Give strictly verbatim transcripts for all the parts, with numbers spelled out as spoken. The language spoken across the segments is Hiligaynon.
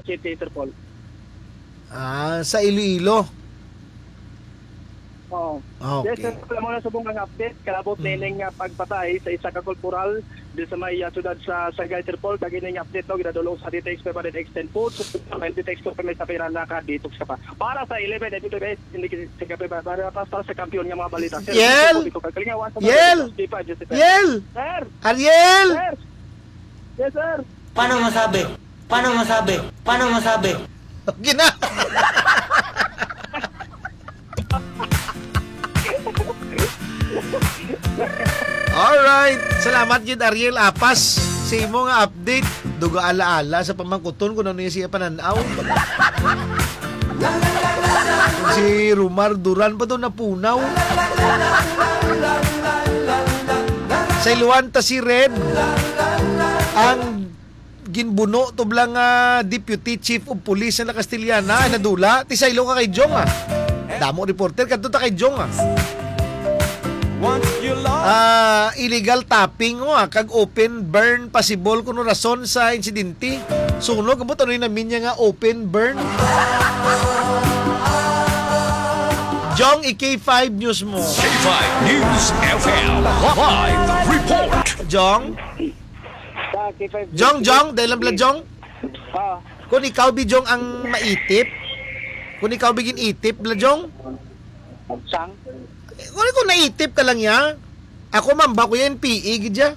City, Sir Paul. Ah, sa Iloilo. Oo. Ah, okay. Yes, sir. Wala mo na subong ang update. Kalabot Mm. nining, ah, pagpatay sa isa ka korporal di sa may, ah, siyudad sa Sagay, Sir Paul. Kag ining update, no, ginadulong sa D T X five hundred X ten Foods. Ang D T X two, may sa pira na ka detox ka pa. Para sa eleven, hindi kasi sa gabi ba? Para, para, para sa kampiyon nga mga balita. Sir, Yel! Dito po, dito, kagalingawan sa mga Yel! Balita. Di pa, Joseph. Yel! Sir! Ariel! Sir! Yes, sir! Paano masabi? Paano masabi? Paano masabi? Gina. Alright. Salamat gid, Ariel Apas, sa imo nga update. Duga ala-ala sa pamangkuton kung ano yung siya pananaw. Si Rumar Duran pa to napunaw. Sa iluan ta si Red, ang ginbuno to bala nga Deputy Chief of Police na Castellana, ay nadula. Ti saylo ka kay Jong, ah. Damo reporter, kadto ta kay Jong, ah. Once you love Ah, illegal tapping, oh, ah, kag open burn, possible kuno rason sa insidente. Sunog, ambot ano yung namin niya nga open burn? Jong, i-K five News mo. K five News F M live report. Jong? Sa K five Jong, Jong, dahil lang bala, Jong? Ah. Kung ikaw, bi, Jong, ang maitip, kung ikaw, bi, gin-itip, bala, Jong? Sang? Kung, kung naitip ka lang, ya, ako, mamba ko yan, P E, gid, ya.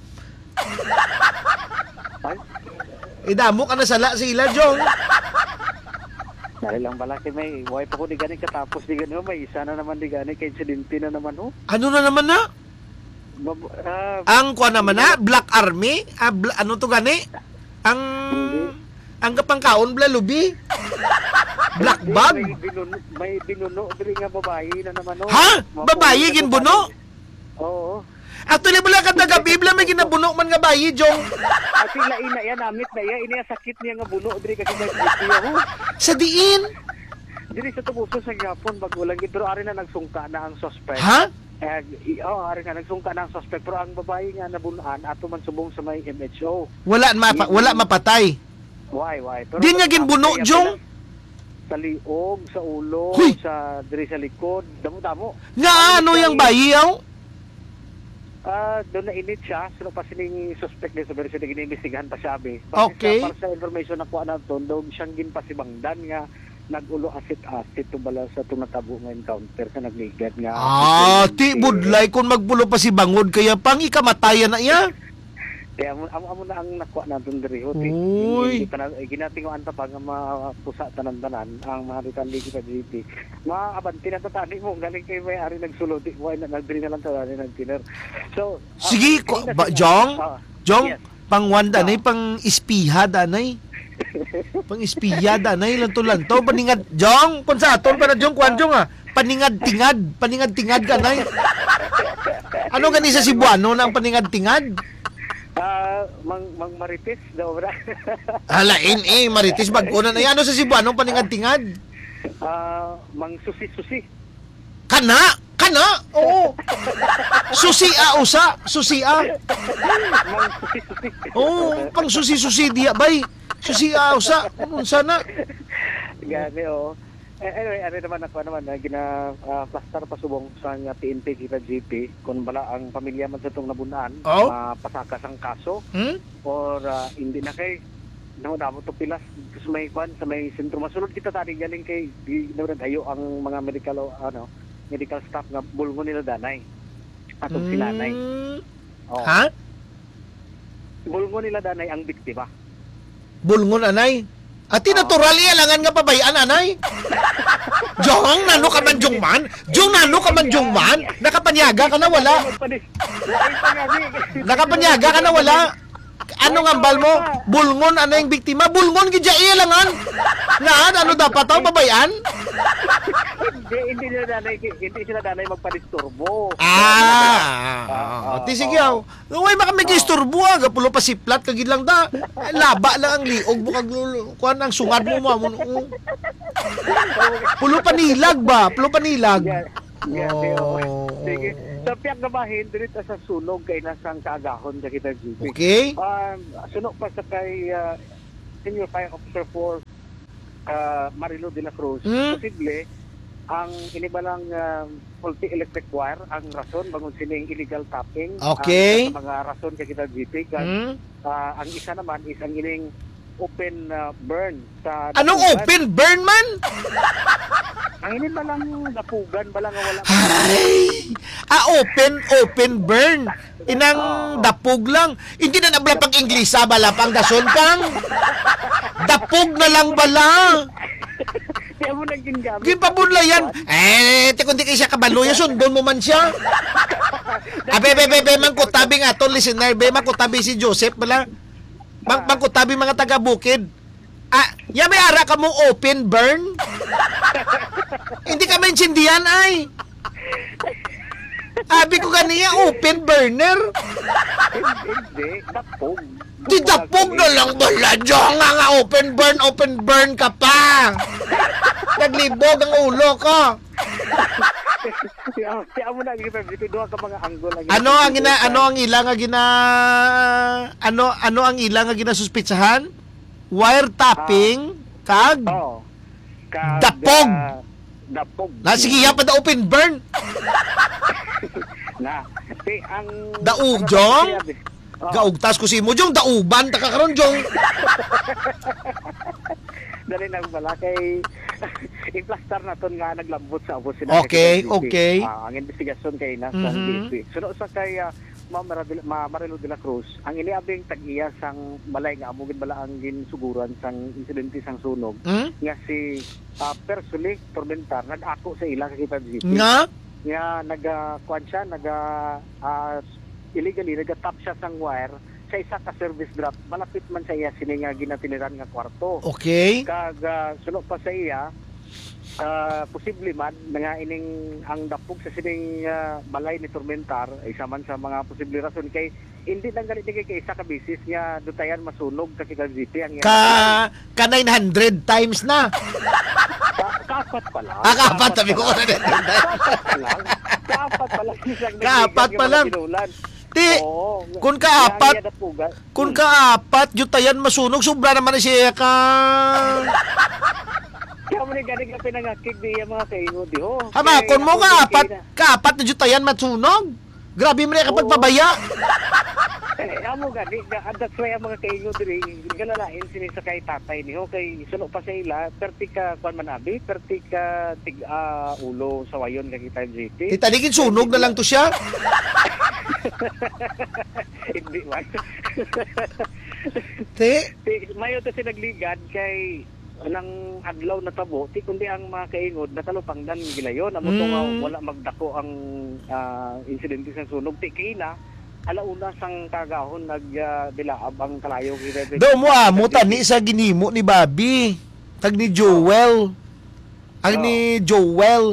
Ay? Eh, damo ka na sala sa ila, Jong. Dali lang bala kay may, way pa ko di gani katapos di gani, may isa na naman di gani, kay insidente na naman, oh. Ano na naman na? Mab-, ah, Ang kuha naman na, Black Army? Ah, bla-, ano to gani? Ang, Hindi. Ang kapangkaon, bla, lubi? Black Hindi, bag? May binuno, may binuno diri nga babayi na naman, oh. Ha? Mapuno Babayi, na ginbuno? babayi. Oo. Actually, wala ka tagabi, bla, may ginabuno man nga bayi, Jong. At sila ina yan, amit na iya, ini ang sakit niya nga buno, diri kasi may buti, oh. Sa diin? Diri sa Tubuso sa Gihapon, bago lang, pero ari na nagsungka na ang suspect. Ha? Eh, i-, oh, ari nga, nagsungka na ang suspect, pero ang babayi nga nabunan, ato man subong sa may M H O. Wala mapa-, Mm. wala mapatay? Why, why? Pero Di niya ginbuno, sa Jong? Sa liog, sa ulo, Huy! sa, diri sa likod, damo-damo. Nga Ang ano yung bayi? bayi, aw? Ah, doon na init siya, sino pa sining suspect din sa version na giniimbestigahan pa siya, abi. Base Okay. sa, para sa information na kuha naton, doon siyang ginpasibangdan nga nag-ulo asit-asit to bala sa itong natabo nga encounter sa nagligad nga Ah, asit-asit. Ti budlay kung magpulo pa si Bangod, kaya pang ikamatayan na iya. Kaya amo, amo, amo na ang nakuha naton diri, ho, ti. Uy. Hindi pa na, eh, ginatinguan ta pa nga mapusa tanan-tanan ang mga detalye kita, G P. Mga abante na tatani mo, galing kay may ari nagsulod, di mo ay na, nagdiri na lang tatani nagtiner. So, ah, Sige, kay ko, na ba, sila, Jong? ah, Jong, yes. Pangwan danay, Ah. pang-ispiha danay. Pang-ispiha danay, lanto-lanto, paningad, Jong, kung sa aton pa na, Jong, kuwan, Ah. Jong, ah. Paningad-tingad, paningad-tingad ka, nay. Ano gani sa Cebuano na ang paningad-tingad? Ah, mang, mang marites daw, bra. Halain, eh, marites, bag-o na, nay. Ano sa Cebuano ang paningad-tingad? Ah, mang susi-susi. Kana? Kana? Oo. Susi, ah, usa. Susi, ah. Mang susi-susi. Oo, pang susi-susi diya, bay. Susi, ah, usa. Unsa na? Gani, oh. Eh, anyway, ano naman ako naman, ah, gina, ah, plastar pa subong sa nga P N P kita, G P, kung bala ang pamilya man sa itong nabunan, Oh? mapasaka sang kaso, Hmm? or, ah, hindi na kay, no, damo to pilas, sa may kwan, sa may sentro. Masulod kita tani galing kay, di, nagadayo ang mga medical, o, ano, medical staff nga bulngon nila danay. Atong sinanay. Mm. Oh. Ha? Bulngon nila danay ang biktima. Bulngon, anay? Ati, Oh. natural iya langan nga pabayan, anay? Jong, nano ka man, Jong man? Jong, nano ka man, Jong man? Nakapanyaga ka na, wala? Wala pa nga, di. Nakapanyaga ka na, wala? Ano nga ambal mo? Bulngon, anay, ang biktima? Bulngon, gid iya langan? Nga, ano dapat, aw, pabayan? Hindi, hindi sila danay, hindi sila danay magpadisturbo. Ah, Ah, ah, ah. oo, Ti, sige, oo. aw. Uy, baka may Oo. gisturbo, ah. Gapulo pa siplat, kagid lang da. Laba lang ang liog mo, kag lul-, kuwan ang sungad mo, mo, mo, oh. Pulo panilag ba? Pulo panilag. Yeah. Yeah, okay, oh. Oo, Sige. oo. Sa pihak nga bahin, diri ta sa sunog kay nasang kaagahon sa kita, G P. Okay. Um, sunog pa sa kay, ah, Senior Fire Officer four, ka Marilu de la Cruz, Hmm? posible ang ini ba lang, ah, faulty electric wire ang rason bangon sining illegal tapping, Okay. ang sa mga rason kay kita, G P, kag, Hmm? ah, ang isa naman is ang ining open, ah, burn sa Anong dapugan. open burn man? Ang ini ba lang dapugan, ba lang nga wala Ay! Ah, open, open burn. Inang Oo. dapog lang. Hindi na nabla pag Inglisa, bala pang dason pang. Dapog na lang bala. Kaya mo nang gingamit. Ginpabunlayan. Eh, ti kundi kay siya kabalo, ya sundon mo man siya. Abe, be, be, be, man kutabi nga aton listener, be, man kutabi si Joseph bala. Mang, Ah. man kutabi mga taga Bukid. Ah, ya may ara ka mo open burn? Hindi ka maintindihan, ay. Abi ko ganiya, open burner. Hindi, dapog. Di dapog na lang bala, Diyo, nga, nga open burn, open burn ka pa. Naglibog ang ulo ko. Kaya, kaya mo na, G P, dito, duha ka mga angle ang Ano ang gina-, ginagawa. ano ang ila nga gina-, ano, ano ang ila nga ginasuspitsahan? Wire tapping, Ah. kag Oo. Kag, Dapog. ah, dapog. Na, sige, ya pa da open burn. Na, si, ang, Daog, ano, Jong? sabi, oh. Gaugtas ko si imo, Jong. Dauban, ta ka karon, Jong. Dali lang pala kay iplastar naton nga naglambot sa ubos sila Okay, kay K P L G P. okay. Ah, ang investigasyon kay na sa Mhm. K P. Suno sa kay, ah, Ma'am Maradil-, Ma-, Marilu de la Cruz, ang iniabing tag-iya sang balay nga amo gid bala ang ginsuguran sang insidente sang sunog Hmm? nga si, ah, Persuli Tormentar nag-ako sa ila kay K P L G P. Nga? Nga naga, kuwan siya, naga, ah, illegally, nagatap siya sang wire sa isa ka service drop, malapit man sa iya sini nga ginatiliran nga kwarto. Okay. Kag, ah, suno pa sa iya, ah, posible man na nga ining ang dapog sa sining, ah, balay ni Tormentar, isa man sa mga posible rason kay hindi lang gali ni kay isa ka bisis nga dutayan masunog ka si K P L G P ang iya Ka, ka nine hundred times na. Ka-, kaapat pa lang. Ah, kaapat, Kaapat sabi pa ko, lang. ka nine hundred times. Kaapat pa lang. Kaapat pa lang. Isang Kaapat nagligan pa nga lang. mga binulan. Ti, Oo. kun Kaya kaapat, ang iya dapugan. kun Hmm. kaapat, dutayan masunog, sobra naman na siya ka. Kaya mo ni gani ka pinangakig di iya mga kaingo, di ho. Hama, Kaya kun mo ako kaapat, din kina- kaapat na dutayan masunog? Grabe man ka Oo. pagpabaya. Eh, amo gani, ga-, that's why ang mga kaingo diri, galalain sini sa kay tatay niyo, kay suno pa sa ila, perti ka, kwan man abi, perti ka tig, ah, ulo sa wayon ka kita, G P. Italigin sunog na lang to siya. Hindi man. Te? Ti, mayo to si nagligad kay nang adlaw natabo, ti kundi ang mga kaingod natalupangdan gilayon. Amo to nga Mm. wala magdako ang, ah, insidente sa sunog. Ti kina, alauna sang kagahon nag, ah, dilaab ang kalayo. Daw mo amo tani sa ginhimo ni Bobby, kag ni Joel. Ang Oo. ni Joel.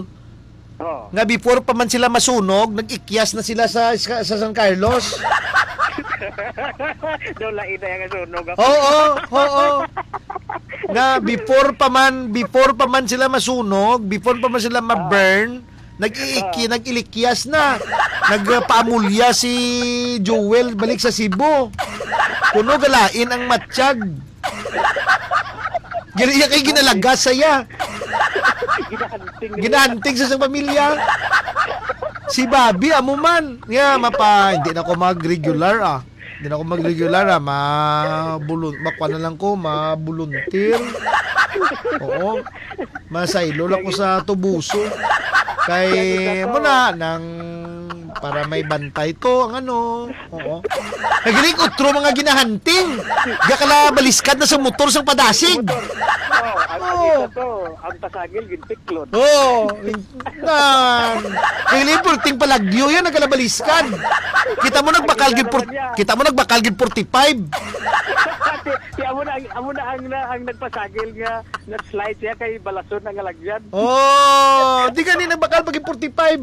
Oo. Nga before pa man sila masunog, nag-ikyas na sila sa, sa, sa San Carlos. Daw lain na yung sunog. Oo, oo. Nga before pa man, before pa man sila masunog, before pa man sila ma-burn, nag-iiki-, Ah. nag-ilikyas na. Nagpaamulya si Joel balik sa Cebu. Kuno galain ang matsyag. Gali iya kay ginalagas sa iya. Ginahanting nila. Ginahanting sa isang pamilya. Si Bobby, amo man. Nga, mapa, hindi na ko mag-regular, ah. Hindi na ko mag-regular, ah. Ma-, bulun-, makuha na lang ko, ma-volunteer. Oo. Masaylo lang ko sa tubuso. Kay, mo na, nang para may bantay to, ang ano. Oo. Naglig utro mga ginahanting. Gakala baliskad na sa motor sang padasig. Motor. Oh, ang, ang Oo. isa to, ang pasagil, gintiklod. Oo. Nan. Naglig purting palagyo yan, nagkala baliskad. Kita mo nagbakal Ang gid pur-, isa naman niya. kita mo nagbakal gid forty-five. Ti, ti, amo na ang, amo na ang, na, ang nagpasagil nga nag-slide siya kay balason ang alagyan. Oh, di gani nagbakal pag forty-five.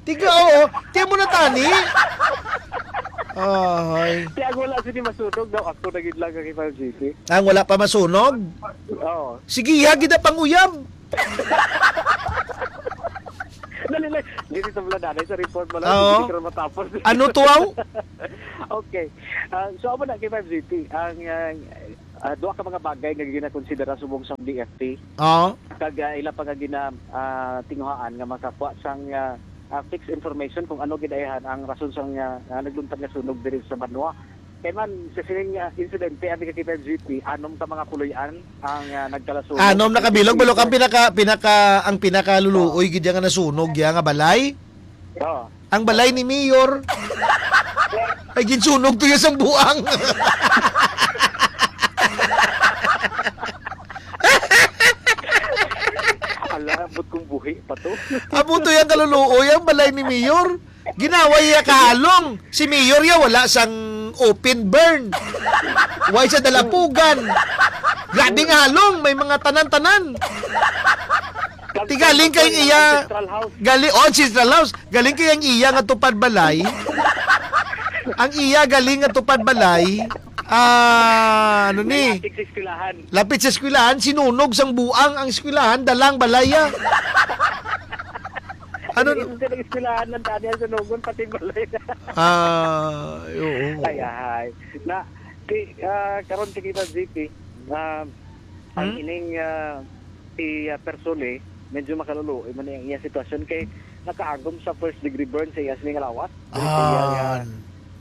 Tiga, oo. Tiyan mo na tani. Ay. Kaya wala sini masunog daw. Ako na gid lang ang ipang G P. Ang wala pa masunog? Oo. Sige, ya, gid ang panguyab. Dali lang. Dili sa wala nanay sa report mo lang. Oo. Hindi ka na matapos. Ano to, aw? Okay. Ah, so, amo na kay five G T. Ang, ah, ah, duha ka mga bagay nga ginakonsidera subong sang D F T. Oo. Kag, ah, ila pa nga gina, ah, tinguhaan nga makakuha sang, ah, ah, fixed information kung ano gid ay han-, ang rason sang, ah, ah, nagluntad nga sunog diri sa banwa. Kay man, sa sining, ah, insidente, abi ka kita, G P, anom ka mga puloy-an ang, ah, nagkalasunog. Anom na ka bilog, bilog ang pinaka, pinaka, ang pinakaluluoy gid ya nga nasunog ya nga balay. Oo. Ang balay ni Mayor. Ay, ginsunog to ya sang buang. Ala, ambot kung buhi pa to. Amo to ya kaluluoy ang balay ni Mayor. Ginawa ya kahalong. Si Mayor ya wala sang open burn. Way sa dalapugan. Grabe nga halong, may mga tanan-tanan. Ti galing kay iya, Central House. Gali, oh, Central House. Galing kay ang iya nga tupad balay. Ang iya galing nga tupad balay. Ah, ano ni? Lapit sa eskwelahan. Lapit sa eskwelahan, sinunog sang buang ang eskwelahan, dalang balay, ah. Ano? Isa sa eskwelahan ng dati ang sunugon, pati balay. Ah, oo. Ay, ay. Na, di, ah, karon ti kita, G P, ah, ang Hmm? ining, ah, si, ah, Persole, medyo makaluluoy man ang iya sitwasyon kay nakaagom sa first degree burn sa iya sini nga lawas. Diri sa iya nga,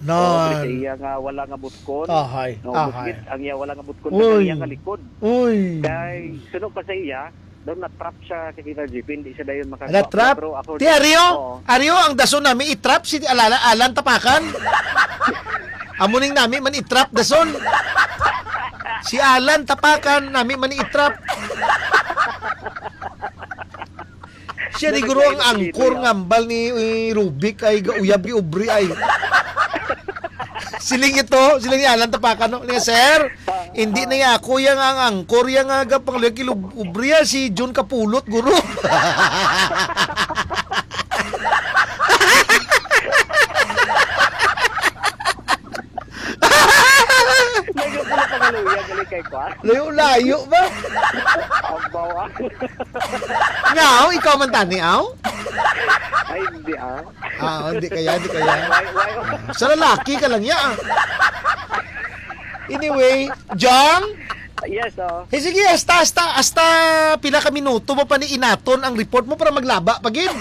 Ah, oo, diri sa nan. iya nga wala nga butkon. Ahay, No, ahay. buskit, ang iya wala nga butkon, kag ang Uy. iya nga likod. Uy. Kay suno pa sa iya, daw na-trap siya, kay kita, G P, hindi siya dayon makakuha. Na-trap? Pero ako, Ti Ario, oo. Ario, ang dason nami i-trap si Alala, Alan Tapakan. Amo ning nami man i-trap dason. Si Alan Tapakan, nami man i-trap. Siya ni guro ang angkor nga hambal ni, eh, Rubik ay gauyab ni ubri ay. Siling ito, siling ni Alan Tapakan, no? Niya, "Sir, hindi na ya ako yang ang angkor yang aga pang lagi lub-, ubri, ah, si Jun Kapulot, guro." Nagapula pa nga luya, galing kay Kwan. Layo-layo ba? Ang bawa. Nga, aw, ikaw man tani, aw? Ay, hindi, ah. Ah, hindi kaya, hindi kaya. Why, why? Sa lalaki ka lang, ya, ah. Anyway, Jong? Yes, oh. Eh, sige, hasta, hasta, hasta pila ka minuto mo pa ni inaton ang report mo para maglaba pa gid.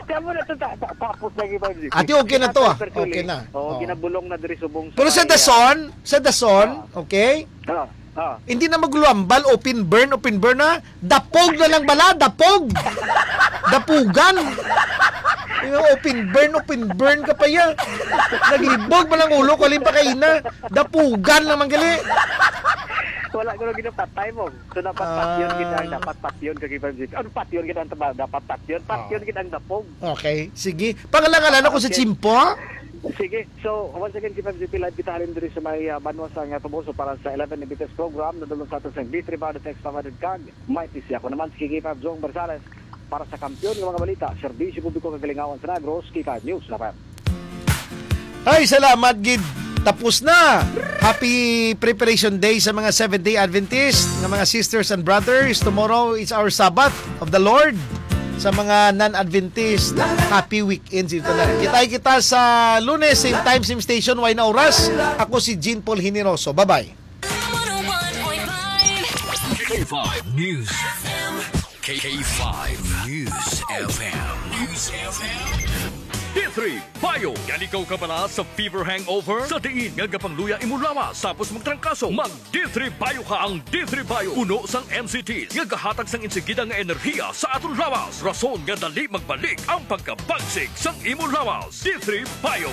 Kamo na to, ta-, ta-, tapos lagi ba, G P? Ate, okay na to, ah. Actually, Okay na. Oo, Oh. ginabulong na diri subong sa Pero sa may, ah, Dason, sa Dason, Ah. okay? Ah, ah. Hindi na maglambal, open burn, open burn na. Dapog na lang bala, dapog. Dapugan. Yung open burn, open burn ka pa ya. Naglibog man ang ulo ko, alin pa kaina. Dapugan naman gali. Wala ko na ginapatay mo. So, dapat Ah. patyon gid ang, dapat patyon ka, Giban G P. Ano, patyon gid ang taba-, dapat patyon? Patyon Ah. gid ang dapog. Okay, sige. Pangalan-ngalan ako sa Okay. Chimpo. Sige. So, once again, Giban G P, live kita halin diri sa may, ah, banwa sa nga Toboso para sa eleven Invictus program. Nadulong sa aton sa D three Body Text five hundred kag may T C. Ako naman, si Kiki Fab Jong Barzales para sa Kampiyon nga mga balita, serbisyo publiko kag kalingawan sa Negros, Kika News, Rafael. Ay, salamat gid. Tapos na. Happy Preparation Day sa mga Seventh-day Adventist, nga mga sisters and brothers. Tomorrow is our Sabbath of the Lord. Sa mga non-Adventist, happy weekend sa inyo tanan. Kita-kita sa Lunes, same time, same station, way na oras. Ako si Jean Paul Generoso. Bye-bye. K five News. K five News F M. News F M. D three Bio. Gali kaw kabala sa fever hangover? Sa diin nga gapangluya imo lawas tapos magtrangkaso, mag D three Bio ka. Ang D three Bio puno sang M C T nga gahatag sang insigida nga enerhiya sa aton lawas, rason nga dali magbalik ang pagkabagsik sang imo lawas. D three Bio.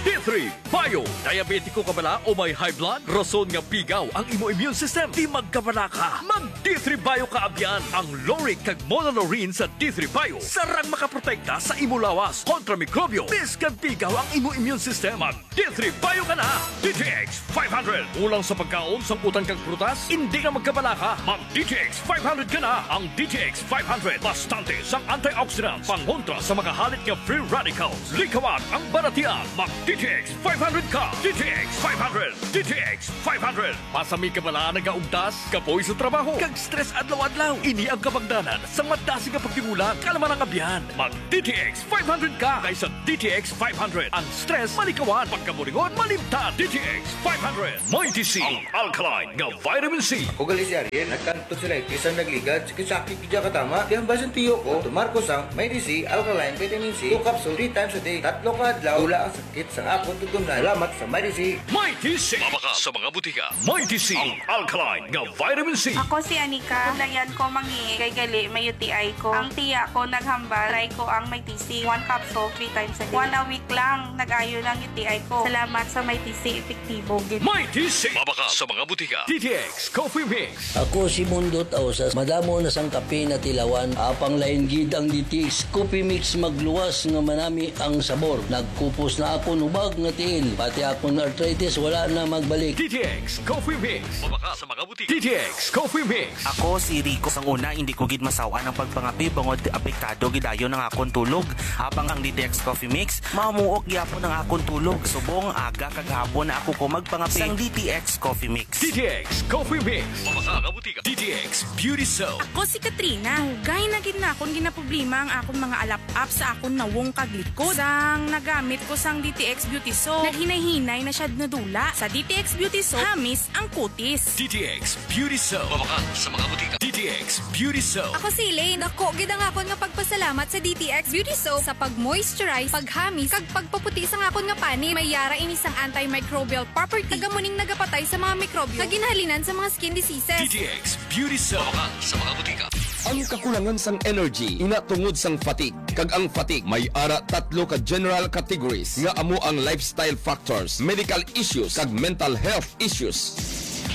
D three Bio. Diabetiko ka bala o may high blood? Rason nga pigaw ang imo immune system. Di magkabala ka. Mag D three Bio ka abyan. Ang lauric kag monolaurin sa D three Bio sarang makaprotekta sa imo lawas kontra mikrobyo. Biskag pigaw ang imo immune system, mag D three Bio ka na. D T X five hundred. Kulang sa pagkaon, sang utan kag prutas? Hindi na magkabala ka. Mag D T X five hundred ka na. Ang D T X five hundred bastante sang antioxidants pangontra sa mga halit nga free radicals. Likawan ang balatian. Mag D T X five hundred ka, D T X five hundred, D T X five hundred. Pasami ka bala nagaugtas, kapoy sa trabaho, kag stress adlaw-adlaw. Ini ang kabangdanan sang madasig nga pagtingulang, kalma nga abyan. Mag D T X five hundred ka kaysa D T X five hundred. Ang stress malikawan, pagkaburingon malimtan. D T X five hundred. Mighty C, ang alkaline nga vitamin C. Ako gali si Ariel, nagkanto sila, isang nagligad, sakit-sakit gid ka tama. Kaya ang basin tiyo ko, tumar ko sang Mighty C, alkaline vitamin C, two capsule, three times a day. Tatlo ka adlaw, wala ang sakit sang akon tutunlan. Salamat sa Mighty C. Mighty C. Mabakal sa mga butika. Mighty C, ang alkaline nga vitamin C. Ako si Anika. Padayan ko mangihi kay gali may U T I ko. Ang tiya ko naghambal, try ko ang Mighty C. One capsule, three times a day. One a week lang, nag-ayo lang U T I ko. Salamat sa Mighty C, epektibo gid. Mighty C. Mabakal sa mga butika. D T X Coffee Mix. Ako si Mundo Tausas. Madamo na sang kape natilawan, apang lain gid ang D T X Coffee Mix, magluwas nga manami ang sabor. Nagkupos na akon hubag nga tiil, pati akon arthritis wala na magbalik. D T X Coffee Mix. Mabakal sa mga butika. D T X Coffee Mix. Ako si Rico. Sang una, hindi ko gid masaw-an ang pagpangape bangod apektado gid dayon ang akon tulog. Apang ang D T X Coffee Mix, mamuok gyapon ang akon tulog. Subong aga kag hapon na ako ko magpangape. Sang D T X Coffee Mix. D T X Coffee Mix. Mabakal sa mga butika. D T X Beauty Soap. Ako si Katrina. Dugay na gid na akon ginaproblema ang akon mga alap-ap sa akon nawong kag likod. Sang nagamit ko sang D T X Beauty Soap, naghinay-hinay na siya nadula. Sa D T X Beauty Soap, hamis ang kutis. D T X Beauty Soap. Mabakal sa mga butika. D T X Beauty Soap. Ako si Elaine. Dako gid ang akon nga pagpasalamat sa D T X Beauty Soap sa pag-moisturize, paghamis, kag pagpaputi sang akon nga panit. May yara ini sang antimicrobial property, kag amo ning nagapatay sa mga mikrobyo nga ginhalinan sa mga skin diseases. D T X Beauty Soap. Mabakal sa mga butika. Ang kakulangan sang energy ina tungod sang fatigue, kag ang fatigue may ara tatlo ka general categories nga amo ang lifestyle factors, medical issues, kag mental health issues.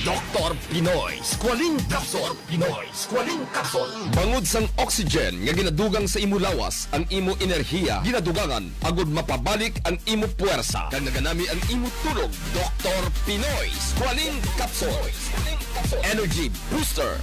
Doktor Pinoy Squalene Capsule. Pinoy Squalene Capsule. Bangod sang oxygen nga ginadugang sa imo lawas, ang imo enerhiya ginadugangan agud mapabalik ang imo puwersa, kag naganami ang imo tulog. Doktor Pinoy Squalene Capsule. Energy Booster.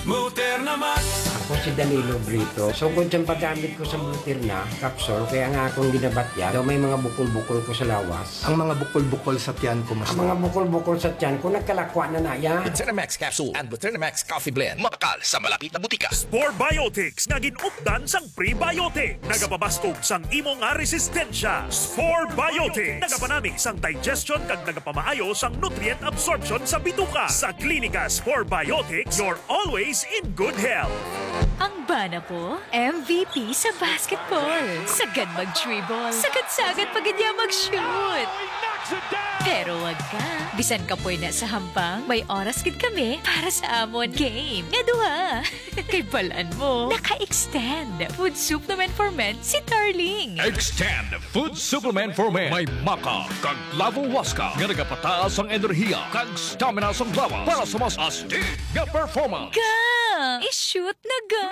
Muterna Max. Ako si Danilo Brito. Sugod sa paggamit ko sa Muterna capsule, kaya nga akong ginabatyan, daw may mga bukol-bukol ko sa lawas. Ang mga bukol-bukol sa tiyan ko, mas Ang mga bukol-bukol sa tiyan ko, nagkalakwa na na ya. Muterna Max Capsule and Muterna Max Coffee Blend. Mabakal sa malapit na butika. Spore Biotics nga gin-updan sang prebiotic. Nagapabaskog sang imo nga resistensya. Spore Biotics. Nagapanami sang digestion kag nagapamaayo sang nutrient absorption sa bituka. Sa Klinika Spore Biotics, you're always in good health. Ang bana ko, M V P sa basketball. Sagad mag-dribble. Sagad-sagad pa gid niya mag-shoot. Pero wag ka. Bisan kapoy na sa hampang, may oras gid kami para sa amon game nga duha. Kay balan mo, naka-extend food supplement for men si Darling. Extend food supplement for men. May maca kag clavo huasca nga nagapataas ang enerhiya kag stamina sang lawas para sa mas astig nga performance. Ga! I-shoot na ga!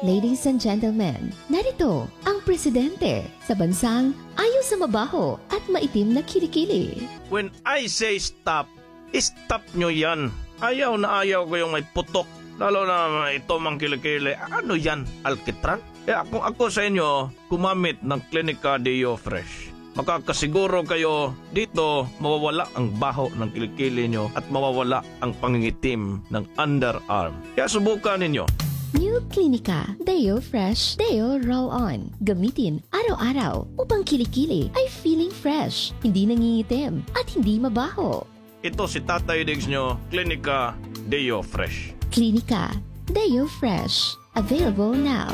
Ladies and gentlemen, narito ang presidente sa bansang ayo sa mabaho at maitim na kilikili. When I say stop, stop nyo yan. Ayaw na ayaw ko yung may putok. Lalo na ito mang kilikili. Ano yan? Alkitran? Kaya kung ako sa inyo, gumamit ng Clinica Deo Fresh. Makakasiguro kayo dito mawawala ang baho ng kilikili nyo at mawawala ang pangingitim ng underarm. Kaya subukan ninyo. New Clinica Deo Fresh Deo Roll On. Gamitin araw-araw upang kilikili ay feeling fresh, hindi nangingitim, at hindi mabaho. Ito si Tatay Diggs nyo, Clinica Deo Fresh. Clinica Deo Fresh. Available now.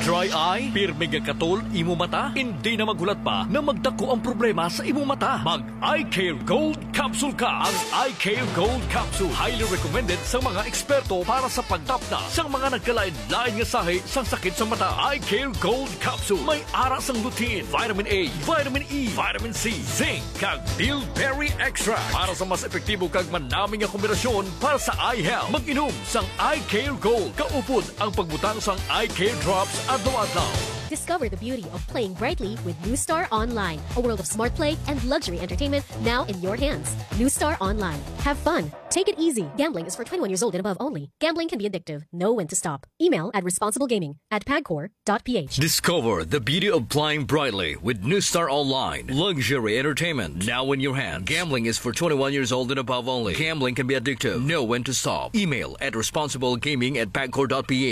Dry eye? Pirmi nga katol imo mata? Hindi na maghulat pa na magdako ang problema sa imo mata. Mag Eye Care Gold Capsule ka. Ang Eye Care Gold Capsule highly recommended sa mga eksperto para sa pagtapna sa mga nagkalain-lain nga sahi sang sakit sa mata. Eye Care Gold Capsule may ara sang lutein, vitamin A, vitamin E, vitamin C, zinc, kag bilberry extract para sa mas epektibo kag manami nga kombinasyon para sa eye health. Mag-inom sang Eye Care Gold. Kaupod ang pagbutang sang Eye Care Drops adlaw-adlaw. Discover the beauty of playing brightly with New Star Online, a world of smart play and luxury entertainment now in your hands. New Star Online. Have fun. Take it easy. Gambling is for twenty-one years old and above only. Gambling can be addictive. Know when to stop. Email at responsiblegaming at pagcor dot ph. Discover the beauty of flying brightly with New Star Online. Luxury entertainment now in your hand. Gambling is for twenty-one years old and above only. Gambling can be addictive. Know when to stop. Email at responsiblegaming at pagcor dot ph.